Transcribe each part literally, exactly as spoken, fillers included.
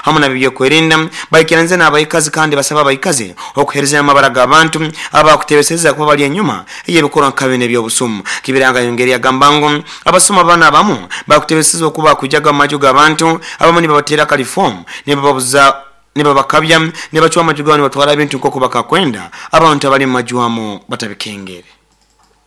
Hamu nabyokwerinda baikiranze n'abaikazi kandi basaba abaikazi okuhereza amabara g'abantu abakutebeseza kuba bali enyuma ey'ebikorwa nka bino eby'obusumu. Kibiranga yongeri yagamba ngu abasuma bana abamu bakutebeseza okuba kujaga mu maju g'abantu, abamu nibabatera kalifomu, nibababuza, nibabakabya, nibacwa amaju gabo, nibatwara ebintu nk'oku bakakwenda abantu abali mu maju amu batabikengere.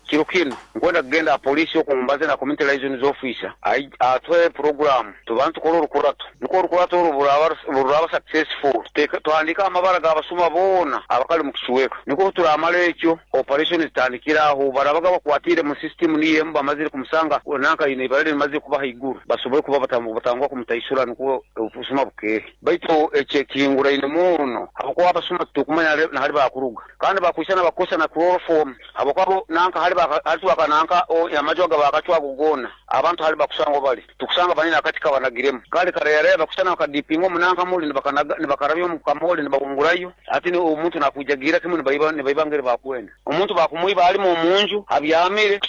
Kiro kino nkwenda kugenda aha polisi okumbaze na community liaison officer atwe program tubanze tukore orukurato, niko orukurato oru buraba successful tuhandika amabara g'abasuma boona abakali mu kicweka, niko turamara ekyo operation zitandikira aho barabaga bakwatire mu system niyo emu bamazire kumusanga nanka ine ibara limazire kuba haiguru basobole kuba batangwa kumutaisura niko obusuma bukehe. Baitu ekyekinguraine muno abakuba abasuma tukumanya na hali bakuruga kandi bakwisa bakosa na chloroform abakuba nanka hali nanka amaju aga bakacwa gona abantu hali bakusanga bali tukusanga banina akati kabanagiremu kale kareyare bakusana bakadipinga omunanka muli nibakarabyo mu kamoli nibawungurayo ati ni omuntu nakujagira kimwe nibayiba nibayibangere bakwenda omuntu bakumuiba ali mu munju abyamire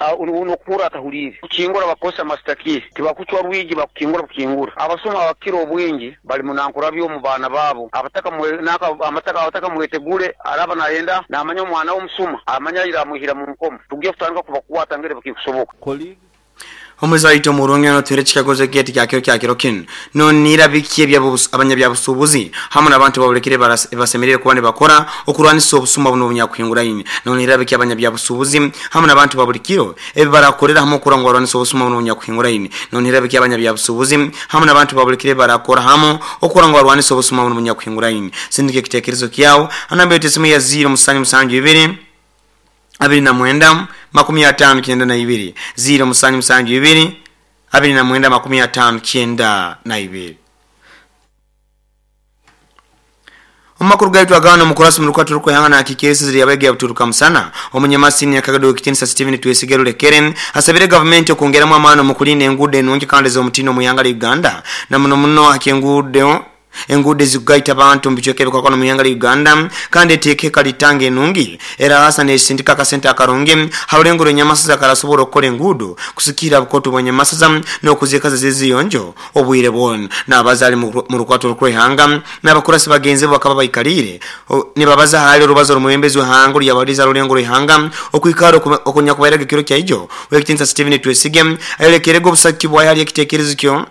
nokura atahulire kukingura bakosa mastaki tibakucwa rwigi bakukingura bukingura. Abasoma abakiro obwingi bali munankurabyo mu bana babo abataka naka amataka abataka mwetegule araba nayenda namanya omwana w'omusuma amanya iramuhira mu nkomo tugiye kutandika kubakwata ngere bakikusoboka. Omwezi waito murungi no tere chikagozo geti kyakiro kyakiro kinu no nira bikiye bya abanyabyabusubuzi hamwe n'abantu babulekere basemerere kuba ne bakora okurwanisa obusuma buno bunyakuhingura. No nira bikiye abanyabyabusubuzi hamwe n'abantu babulikiro ebi barakorera hamwe okura ngo barwanisa obusuma buno bunyakuhingura. No nira bikiye abanyabyabusubuzi hamwe n'abantu babulikire barakora hamwe okura ngo barwanisa obusuma buno bunyakuhingura. Sindike kitekerezo kyao anambe tesimu ya zero musanju musanju ibiri abiri na mwenda makumi atano kyenda na ibiri zero musanju musanju ibiri abiri na mwenda makumi atano kyenda na ibiri. Omakuru gaitu agano mukurasi mulukwatu rukwehanga na hakikirisi ziri yabege ya buturuka musana. Omunyamasini ya kagado kitinisa Steven Twesigero Lekeren asabire government okwongeramu amaani mu kulinda enguudo ennungi kandi ez'omutindo mu ihanga lya Uganda na muno muno hakenguudo enguudo ezikugaita abantu mu bicweka ebikwakwano mu ihanga lya Uganda kandi eteeka ekalitanga enungi era hasa nesindika akasente akarungi harulengo rw'enyamasaza karasobola okukola enguudo kusikira bukoto bw'enyamasaza n'okuzikaza zeziyonjo obwire bwona. N'abazaali mu rukwato rw'eihanga n'abakurasi bagenzi bo bakaba baikalire nibabaza hali orubazo rw'omwebembezi w'ihanga ryabaliza rulengo rw'eihanga okwikara okunyakubairaga ekiro kyaijo. Owekitinisa Steven Twesige ayolekerega obusaki bwayo hali ekiteekerezo kyo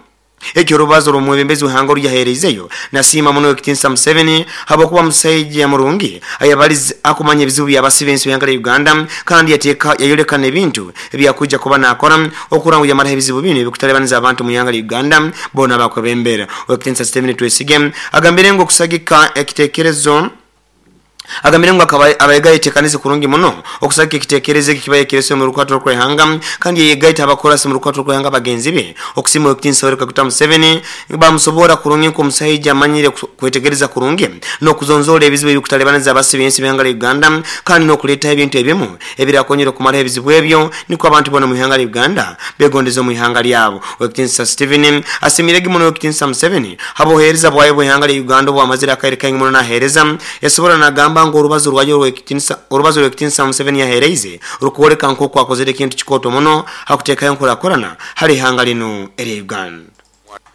ekyo rubazo rw'omwebembezi w'ihanga ryaheereizeyo. Nasiima muno Owekitinisa Museveni habwokuba musajja murungi ayabaliza akumanya ebizibu by'abasibe ensi y'ihanga lya Uganda kandi yateeka yayolekana ebintu ebyakuja kuba nakora okura ngu yamaraho ebizibu bino ebikutalibaniza abantu mu ihanga lya Uganda boona bakwebembera. Owekitinisa Steven Twesige agambire ngu okusagika ekiteekerezo agambire ngu abayegaiteekanize kurungi muno okusagika ekiteekerezo eki kibaye kirese mu rukwato rw'eihanga kandi yegaita abakorasi mu rukwato rw'eihanga bagenzi be okusima Owekitinisa Yoweri Kaguta Museveni bamusobora kurungi nk'omusajja amanyire kwetegereza kurungi n'okuzonzola ebizibu ebikutalibaniza abasibe ensi b'ihanga lya Uganda kandi n'okuleetaho ebintu ebimu ebirakonyera okumaraho ebizibu ebyo niko abantu boona mu ihanga lya Uganda begondeza mu ihanga lyabo. Owekitinisa Steven asimirege muno Owekitinisa Museveni habohereza bwayo bw'ihanga lya Uganda obwamazire akaire kaingi muno naheereza yasobora nagamba ngo orubazo rwayo rw'ekitinisa orubazo rw'ekitinisa Museveni yahereize rukwoleka nk'oku akozere ekintu kikoto muno hakuteekayo nkurakorana hali ihanga lino erya Uganda.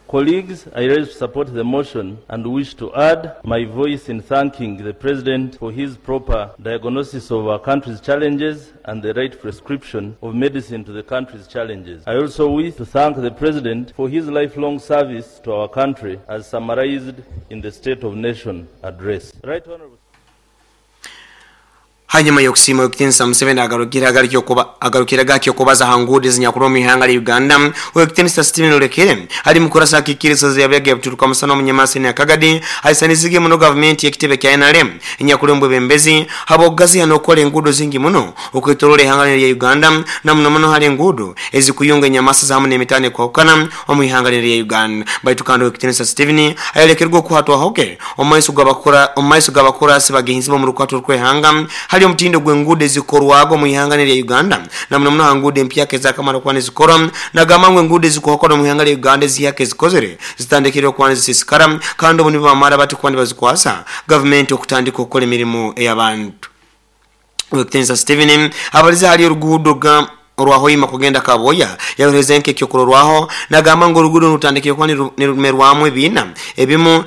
Colleagues, I rise to support the motion and wish to add my voice in thanking the President for his proper diagnosis of our country's challenges and the right prescription of medicine to the country's challenges. I also wish to thank the President for his lifelong service to our country as summarized in the State of Nation address. Right Honorable. Hanyuma y'okusiima Owekitinisa Museveni agarukira agarukira gakyo okubaza ha nguudo ezinyakurwa mu ihanga lya Uganda. Owekitinisa Steven Olekere ali mukurasa akikiriza yabyaga buturuka musana omunyamasini akagadi aisanizige muno gavumenti y'ekitebe kya N R M enyakulembwe bembezi habwokugaziha n'okukola enguudo zingi muno okwetorola ihanga lya Uganda na muno muno hali enguudo ezikuyunga enyamasaza hamu n'emitano ekwahukana omu ihanga lya Uganda. Baitu kandi Owekitinisa Steven ayolekerwa okuhatwahoke omu maiso g'abakora omu maiso g'abakurasi bagenzi bo mu rukwato rw'eihanga hali omutindo gw'enguudo ezikorwago mu ihanga lya Uganda na muno muno ha nguudo empyaka ezakamara kuba nizikora nagamba ngu enguudo ezikuhakora mu ihanga lya Uganda ezihaka ezikozere zitandikire okuba nizisisikara kandi obu nibamara bati kuba nibazikwasa gavumenti okutandika okukola emirimu ey'abantu. Owekitinisa Steven abaliza hali oruguudo orwahoima kugenda Kaboya yahereza nke ekyokurorwaho nagamba ngu oruguudo rutandikire kuba nirumerwamu ebiina ebimu.